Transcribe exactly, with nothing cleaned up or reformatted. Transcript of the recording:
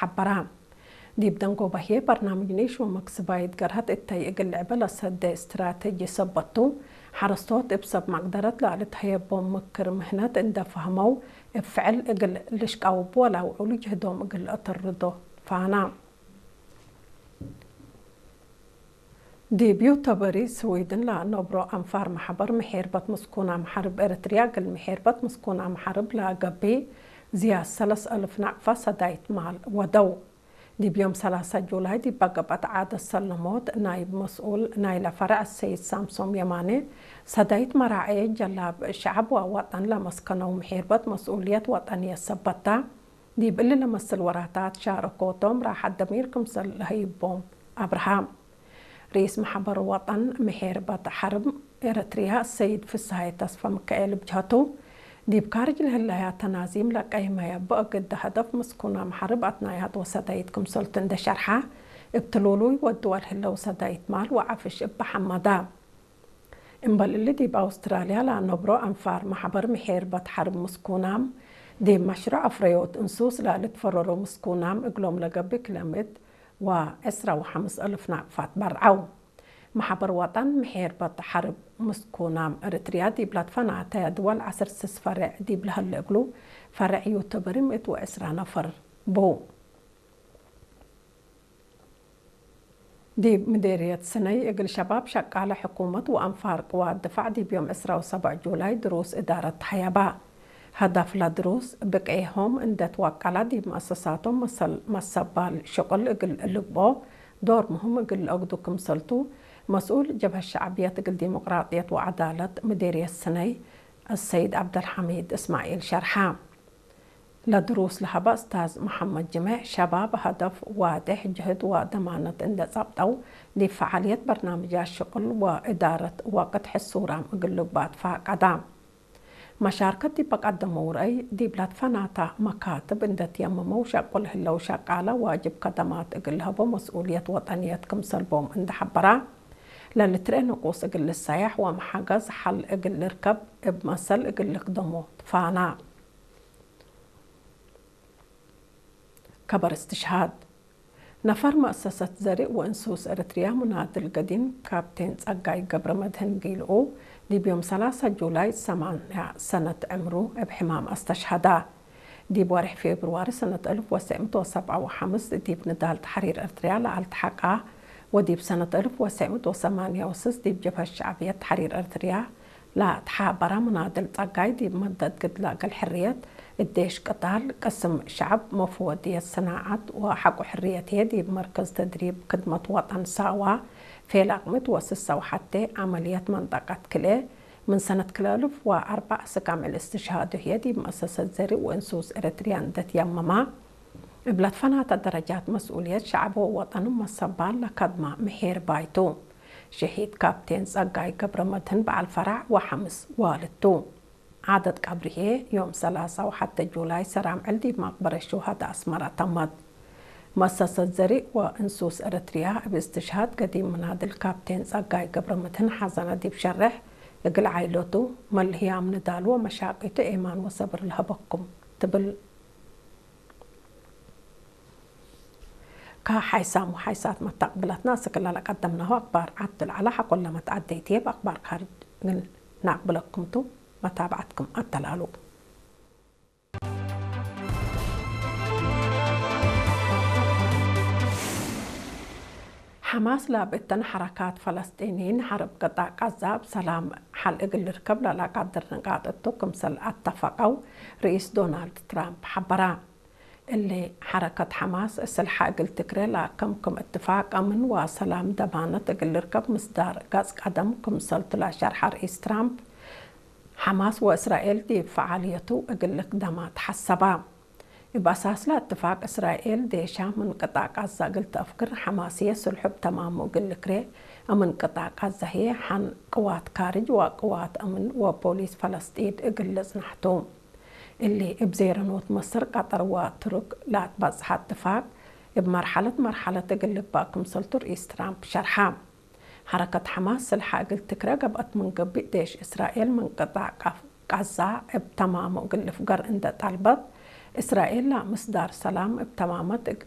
ሐበራ። ዲብ ደንጎበ ህዬ በርናምጅ ኒሽ ወመክስባይት ገርሀት እተይ እግል ልዕበ ለሰዴ እስትራቴጂ ሰበት ቱ፣ ሐረስቶት እብ ሰብ መቅደረት ለልትሀየቦም ምክር ምህነት እንዴ ፈሀመው እብ ፍዕል እግል ልሽቃውቡ ወለአውዕሉ ጅህዶም እግል ለአተርዶ ፋና። ዲብ ዩተበሪ ስዊድን ለአነብሮ አንፋር መሐበር ምሔርበት ምስኩናም ሐርብ ኤረትርያ እግል ምሔርበት ምስኩናም ሐርብ ለአገብእ ዝያድ ሰለስ አልፍ ናቅፋት ሰዳይት ማል ወደው። ዲብ ዮም ሰላሳ ጁላይ ዲብ ገብአት ዓደት ሰለሞት ናይብ መስኡል ናይለ ፈረዕ ሰይድ ሳምሶም የማነ፣ ሰዳይት መራዔ ጀላብ ሸዐብ ወወጠን ለመስከነው ምሔርበት መስኡልየት ወጠንየት ሰበት ተ፣ ዲብ እሊ ለመስል ወራታት ሻረኮቶም ራሐት ደሚር ክምሰል ለሀይቦም አብርሃ። ርኢስ መሐበር ወጠን ምሔርበት ሐርብ ኤረትርያ ሰይድ ፍስሃየ ተስፈ ምካኤል እብ ጀሀቱ፣ ዲብ ካርጅ ለህለያ ተናዚም ለቀይመየ ብእግድ ሀደፍ ምስኩናም ሐርብ አትናያት ወሰዳይት ክምሰልቱ እንዴ ሸርሐ፣ እብ ትሉሉይ ወድወል ህለው ሰዳይት ማል ወዐፍሽ እበ ሐመዳ። እምበል እሊ ዲብ አውስትራልያ ለአነብሮ አንፋር መሐበር ምሔርበት ሐርብ ምስኩናም፣ ዲብ መሽሩዕ አፍረዮት እንሱስ ለልትፈረሮ ምስኩናም እግሎም ለገብእ ክለ ምእት ወዕስራ ወሐምስ አልፍ ናቅፋት በርዐው። መሐበር ወጠን ምሔርበት ሐርብ ምስኩናም ኤረትርያ ዲብ ለትፈናተ ድወል ዐስር ስስ ፈሬዕ ዲብ ለህለ እግሉ፣ ፈሬዕ ዩተበሪ ምእት ወዕስራ ነፈር ቡ። ዲብ ምዴርየት ስነይ እግል ሸባብ ሸቃለ ሕኩመት ወአንፋር ቅዋት ድፋዕ ዲብ ዮም ዕስራ ወሰብዕ ጁላይ ድሩስ እዳረት ተሀየባ። ሀዳፍ ለድሩስ፣ ብቅዔሆም እንዴ ትወቀላ ዲብ መአሰሳቶም መሰል መሰባል ሽቁል እግል ልግብኦ ዶር ምህም እግል ለአግዱ ክምሰልቱ፣ መስኡል ጀብሀት ሸዕብየት እግል ዲሞቅራጥየት ወዐዳለት ምዴርየት ስነይ፣ አሰይድ ዐብደልሐሚድ እስማዒል ሸርሐ። ለድሩስ ለሀበ እስታዝ መሐመድ ጅሜዕ፣ ሸባብ ሀደፍ ዋዴሕ፣ ጅህድ ወደማነት እንዴ ጸብጠው፣ ዲብ ፈዓልየት በርናምጃት ሽቁል ወእዳረት ወቅት ሕሱራም እግል ልግባእ ትፋቀዳ። መሻርከት ዲብ ቀደመው ረአይ፣ ዲብ ለትፈናተ መካትብ እንዴ ትየመመው ሸቁል ህለው ሸቃለ ዋጅብ ከደማት እግል ለሀቦ መስኡልየት ወጠንየት ክምሰል ቦም እንዴ ሐበራ፣ ለልትርኤ ንቁስ እግል ልሰያሕ ወመሐገዝ ሐል እግል ልርከብ እብ መሰል እግል ልክደሞ ትፋና። ከበር እስትሽሃድ። ነፈር መአሰሰት ዘርእ ወእንሱስ ኤረትርያ ሙናድል ገዲም ካፕቴን ጸጋይ ገብረመድህን ጊልኡ፣ ዲብ ዮም ሰላሳ ጁላይ ሰማንያ ሰነት ዕምሩ እብ ሕማም አስተሽሀዳ። ዲብ ወርሕ ፌብርዋሪ ሰነት አልፍ ወትሰዕ ምእት ወሰብዓ ወሐምስ ዲብ ንዳል ተሕሪር ኤረትርያ ለአልትሐቃ ወዲብ ሰነት አልፍ ወትሰዕ ምእት ወሰማንያ ወስስ ዲብ ጀብሀት ሸዕብየት ተሕሪር ኤረትርያ ለተሓበረ ሙናድል ጸጋይ፣ ዲብ መደት ግድለ እግል ሕርየት፣ እዴሽ ቅታል፣ ቅስም ሸዐብ፣ መፍወድየት ሰናዐት ወሐቆ ሕርየት ህዬ፣ ዲብ መርከዝ ተድሪብ ክድመት ወጠን ሳዋ፣ ፌላቅ ምእት ወስሳ ወሐቴ፣ ዐመልየት መንጠቀት ክልኤ፣ ምን ሰነት ክልኤ አልፍ ወአርበዕ እስክ አምዕል እስትሽሃዱ ህዬ፣ ዲብ መአሰሰት ዘርእ ወእንሱስ ኤረትርያ እንዴ ትየመመ፣ እብ ለትፈናተ ደረጃት መስኡልየት ሸዐብ ወወጠን መሰባል ለከድመ ምሒር ባይቱ። ሸሂድ ካፕቴን ጸጋይ ገብረመድህን በዐል ፈራዕ ወሐምስ ዋልድ ቱ። ዓደት ቀብሪ ህዬ ዮም ሰላሳ ወሐቴ ጁላይ ሰራምዕል ዲብ መቅበረት ሹሀዳ አስመረ ተመት። መአሰሰት ዘርእ ወእንሱስ ኤረትርያ እብ እስትሽሃድ ገዲም ምናድል ካፕቴን ጸጋይ ገብረመድህን ሐዘነ ዲብ ሸሬሕ፣ እግል ዓኢለቱ፣ መልህያም ንዳሉ ወመሻቂቱ ኤማን ወሰብር ለሀበኩም ትብል። ከሓይሳም ወሓይሳት መተቅብለትነ፣ እስክ ለለቀደምናሁ አክባር ዐድ ለዐለ ሐቆለ መትዐደይት ህዬ፣ እብ አክባር ካርጅ እግል ነአቅብለኩም ቱ። መታብዐትኩም አተላሉ። ሐማስ ለአብ እተን ሐረካት ፈለስጢንይን ሐርብ ቅጣዕ ቃዛ እብ ሰላም ሐል እግል ልርከብ ለለአቃድር ንቃጥ እቱ ክምሰል አተፈቀው ርኢስ ዶናልድ ትራምፕ ሐበራ። እሊ ሐረከት ሐማስ ስልሐ እግል ትክሬ ለአከምክም እትፋቅ አምን ወሰላም ደማነት እግል ልርከብ ምስዳር ገጽ ቀደም ክምሰልቱ ለሸርሐ ርኢስ ትራምፕ፣ ሐማስ ወእስራኤል ዲብ ፈዓልየቱ እግል ልክደማ ተሐሰባ። እብ አሳስለ እትፋቅ እስራኤል ዴሻ ምን ቅጣዕ ቃዛ እግል ተአፍግር፣ ሐማስ ህዬ ስልሑ እብ ተማሙ እግል ልክሬ፣ አምን ቅጣዕ ቃዛ ህዬ ሐን ቅዋት ካርጅ ወቅዋት አምን ወፖሊስ ፈለስጢን እግል ልጽናሕ ቱ። እሊ እብ ዜረኖት መስር፣ ቀጠር ወቱርክ ለአትበጽሐ እትፋቅ፣ እብ መርሐለት መርሐለት እግል ልግባእ ክምሰልቱ ርኢስ ትራምፕ ሸርሐ። ሐረከት ሐማስ ስልሐ እግል ትክረ ገብአት ምን ገብእ፣ ዴሽ እስራኤል ምን ቅጣዕ ቃፍ-፣ ቃዛ እብ ተማሙ እግል ልፍገር እንዴ ጠልበት፣ እስራኤል ለምስዳር ሰላም እብ ተማመት እግ-፣